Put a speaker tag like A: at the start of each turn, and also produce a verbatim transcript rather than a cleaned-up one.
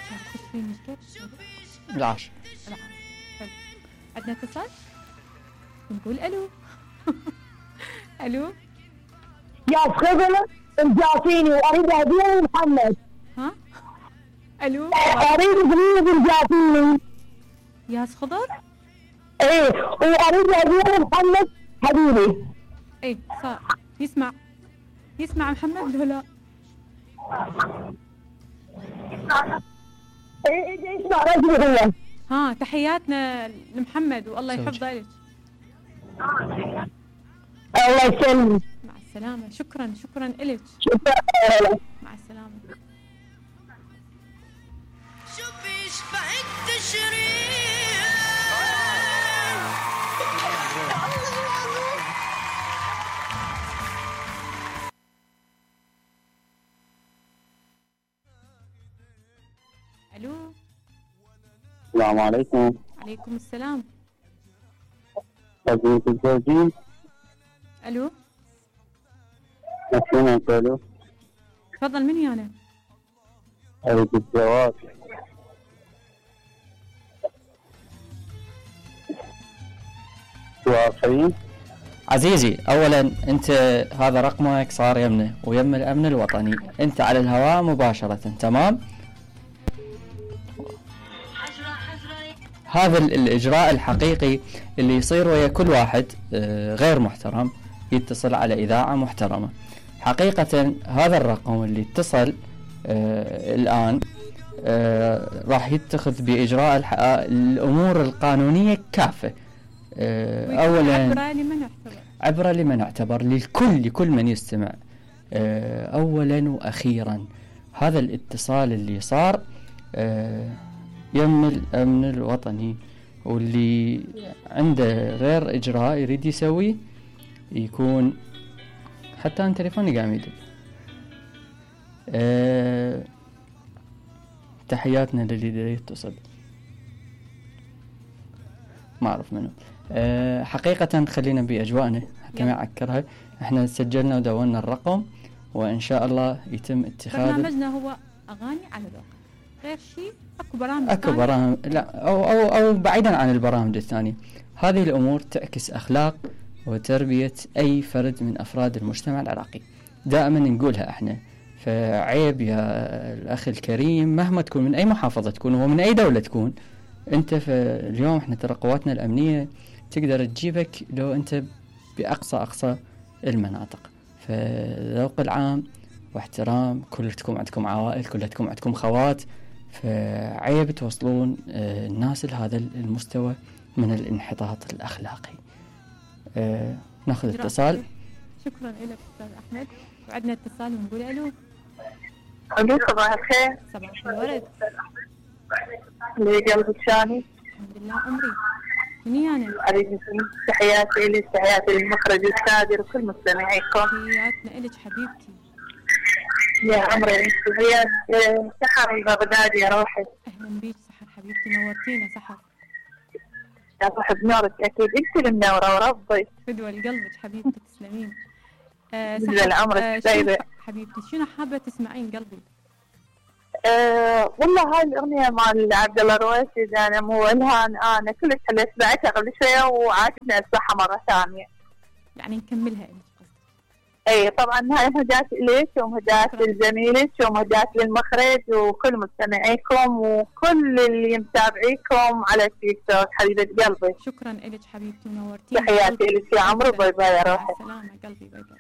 A: خش فيني كيف؟
B: العاشر.
A: العاشر. حلو. عندنا اتصال؟ نقول الو. الو.
C: يا خضر رجعتيني واريد هديه لمحمد.
A: ها؟ الو.
C: اريد هديه رجعتيني.
A: يا خضر؟
C: ايه واريد هديه لمحمد حبيبي.
A: ايه صار يسمع يسمع محمد ولا لا؟
C: ايه ايه اسمع رجلي هو.
A: ها تحياتنا لمحمد والله يحفظه لك.
C: الله يسلمك.
A: مع السلامة. شكرا شكرا إلك.
C: شكرا.
A: مع السلامة.
D: شوف يشبه التشريع.
A: الو.
E: السلام عليكم.
A: عليكم السلام.
E: تبين تتزوجين؟
A: الو.
E: مسلمة الو.
A: تفضل مني انا.
E: اريد الزواج. توافقين؟
B: عزيزي اولا انت هذا رقمك صار يمنا ويم الامن الوطني، انت على الهواء مباشرة تمام؟ هذا الاجراء الحقيقي اللي يصير ويا كل واحد غير محترم يتصل على اذاعة محترمة. حقيقة هذا الرقم اللي اتصل آه الان آه راح يتخذ باجراء الامور القانونية كافة. آه اولا
A: عبرة لمن اعتبر
B: عبرة لمن اعتبر للكل لكل من يستمع. آه اولا واخيرا هذا الاتصال اللي صار آه يم الامن الوطني، واللي عنده غير اجراء يريد يسويه يكون حتى ان تليفوني قاعد يدق. أه تحياتنا للي يتصل ما اعرف منه. أه حقيقة خلينا باجواءنا حتى ما اعكرها. احنا سجلنا ودونا الرقم وان شاء الله يتم اتخاذ.
A: برنامجنا هو اغاني على الواقع غير شيء. اكو برامج
B: اكو برامج لا او او او بعيدا عن البرامج الثانية. هذه الامور تعكس اخلاق وتربية اي فرد من افراد المجتمع العراقي. دائما نقولها احنا. فعيب يا الاخ الكريم مهما تكون من اي محافظة تكون ومن اي دولة تكون انت. فاليوم احنا ترى قواتنا الامنية تقدر تجيبك لو انت باقصى اقصى المناطق. فذوق العام واحترام. كلكم عندكم عوائل، كلكم عندكم خوات، فعيب توصلون الناس لهذا المستوى من الانحطاط الأخلاقي. أه ناخذ اتصال.
A: شكرا لك أستاذ أحمد. وعندنا اتصال ونقول ألو.
C: ألو صباح الخير.
A: صباح الورد.
C: لي قلبك شاني.
A: الحمد لله عمري. مني أنا.
C: أريد تحياتي لك تحياتي للمخرج السادر وكل مستمعيكم.
A: تحياتنا لك حبيبتي.
C: يا عمري هي سحر البغدادي يا روحي.
A: اهلا بيك سحر حبيبتي نورتينا سحر.
C: يا صاحب نورك اكيد انت المنوره وربي.
A: فدوى لقلبك حبيبتي تسلمين.
C: آه سحر عمرك
A: آه
C: طيبه
A: حبيبتي. شنو حابه تسمعين قلبي؟
C: آه والله هاي الاغنيه مال عبد الله الرويسي انا مو الهان انا كلش حليت سمعتها قبل شويه وعاجبني اسمعها مره ثانيه.
A: يعني نكملها انت.
C: اي طبعا هاي مهدات اليك ومهدات لزميلك ومهدات للمخرج وكل مستمعيكم وكل اللي متابعيكم على التيك توك حبيبه قلبي.
A: شكرا لك حبيبتي ونورتيني.
C: تحياتي لك يا عمرو. باي باي يا روحي.
A: سلامة قلبي. باي باي.